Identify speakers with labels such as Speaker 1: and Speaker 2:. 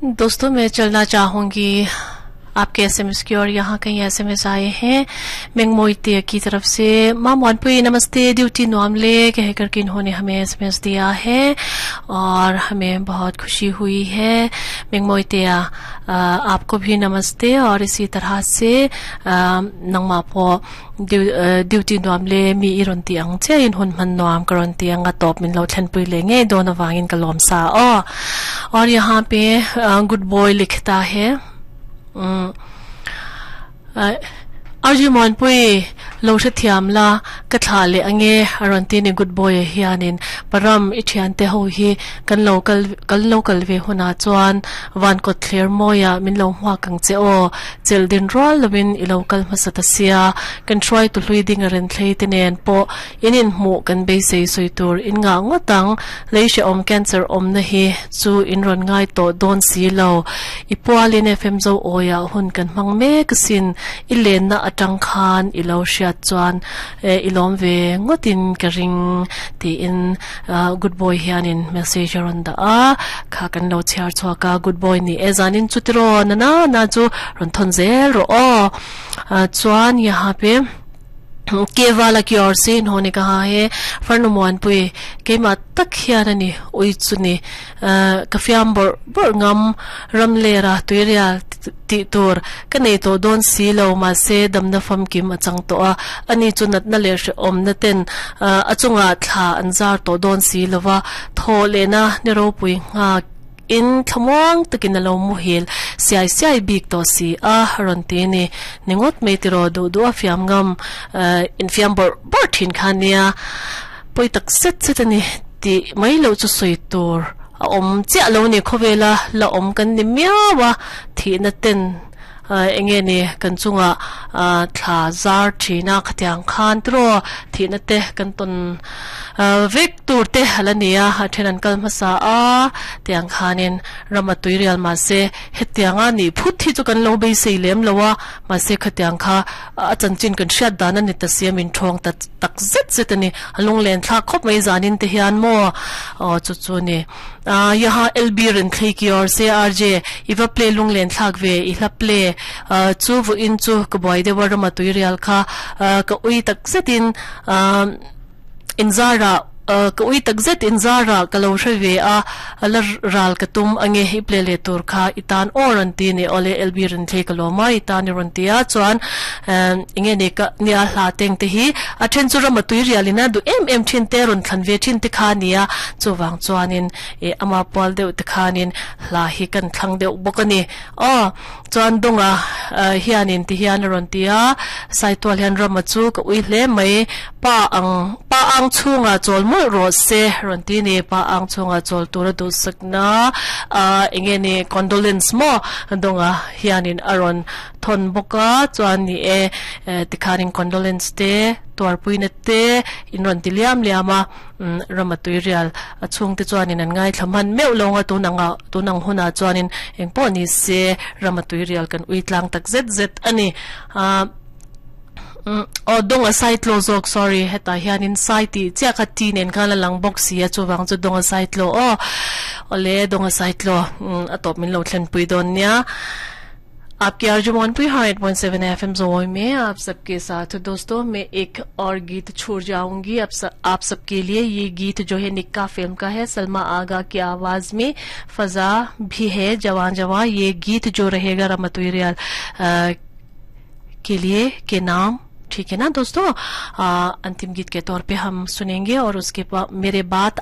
Speaker 1: दोस्तों, मैं चलना चाहूंगी आपके एसएमएस की और यहाँ कहीं एसएमएस आए हैं मेंगमोइते की तरफ से। मामवानपुई नमस्ते, ड्यूटी नोमले कह करके इन्होंने हमें एसएमएस दिया है और हमें बहुत खुशी हुई है। मेंगमोइतिया, आपको भी नमस्ते। और इसी तरह से नंगमापो ड्यूटी नोमले mi iron ti ang che in hun man noam karon ti anga top min lo thlen pui le nge don awangin ka lom sa o। और यहाँ पे गुड बॉय लिखता है, Arju Monpui lo hre thiam la ka thla le ange aron ti ni good boy hianin param i thian te ho hi kan local kan local ve huna chuan van ko thler moya min lo hwa kang che o chel din rol lovin i local hmasa ta sia kan try tu hlui ding aren thlei te nen po inin mu kan be sei soi tur in nga ngotang leisha om cancer om na hi chu in ron ngai to don si lo i pualin FM zo oya hun kan mang me kasin i len na atang khan i lo hriat chuan i lawm ve ngawtin ka ring tiin good boy hianin message a rawn dah a, kha kan lo chhiar chhuak a. Good boy ni e zanin chu tiraw na na na chu rawn thawn zel rawh aw. Chuan yaha pe Kevala ki or se inhone kaha he farnumuanpui keimah tak hian a ni ui chu ni ka fiam bawrh bawrh ngam ram lera tuirial tih tur ka nei tawh dawn si lo, mahse damna famkim a chang tawh a, ani chu natna leh hrehawmna ten a chungah thla an zar tawh dawn si lo va, thaw lehna ni ropui nghak in thlamuang takin a lo muhil siai siai bik tawh si a, rawn ti a ni. Ni ngawt mai tiraw duh duh a fiam ngam infiam bawrh bawrh thin kha nia, pawi tak zet zet a ni tih mai loh chu sawi tur a awm chiah lo ni. Khawvela la awm kan ni miau a, thihna ten eng nge ni kan chungah thla zar thin a, khatiang khan tiraw thihna te kan tawn vek tur te a la ni a, a then an kal hmasa a, tiang khanin ram a tui rial mahse hetianga nih phut hi chu kan lo beisei lem lo a, mahse khatiang kha a chanchin kan hriat dan a ni ta si a, min thawng ta tak zet zet a ni, a lunglen thlak khawp mai zanin te hian maw aw chu chu ni. Yaha LB Renthlei ki or se RJ i va play lunglen thlak ve i hla play chu vawiin chu ka buai deuh a rama tui rial kha ka ui tak zetin inzarah ka ui tak zet inzarah ka lo hre ve a la ral ka tum ange i play leh tur kha i tan aw rawn ti ni awle LB Renthlei ka lawm a i tan i rawn ti a chuan enge ni ka nia hla teng te hi a then chu rama tui rial in a duh em em thin te rawn thlan ve thin te kha nia chuvang chuanin ih ama pual deuh te khanin hla hi kan thlang deuh bawk a ni. Aw chuan Dunga hianin ti hian a rawn ti a, Saitual hian Rama chu ka ui hle mai, pa ang pa ang chhungah chawl mawlh rawh se rawn ti a ni. Pa ang chhungah chawl tura duhsakna eng nge ni condolence maw Dunga hianin a rawn thawn bawk a, chuan ni e tikhanin condolence te tuarpuina te in rawn ti liam liam a. Rama tuirial a chhungte chuanin an ngaithla hman meuh lo anga tun anga tun ang hunah chuanin eng pawh ni se Rama tuirial kan ui tlang tak zet zet a ni. Aah aw dawng a sai tlaw zawk sorry hetah hianin sai tih chiah kha ti nen khan a lang bawk si a chuvang chu dawng a sai tlaw aw awle dawng a sai tlaw a tawp min lo thlenpui dawn nia. आपकी आरजू मोहनपुरी हाँ 8.7 एफएम जोई में आप सबके साथ। दोस्तों, मैं एक और गीत छोड़ जाऊंगी आप आप सबके लिए। ये गीत जो है निक्का फिल्म का है, सलमा आगा की आवाज में फजा भी है जवान जवान। ये गीत जो रहेगा रमतुई रियाल के लिए के नाम, ठीक है ना दोस्तों? अंतिम गीत के तौर पे हम सुनेंगे और उसके मेरे बाद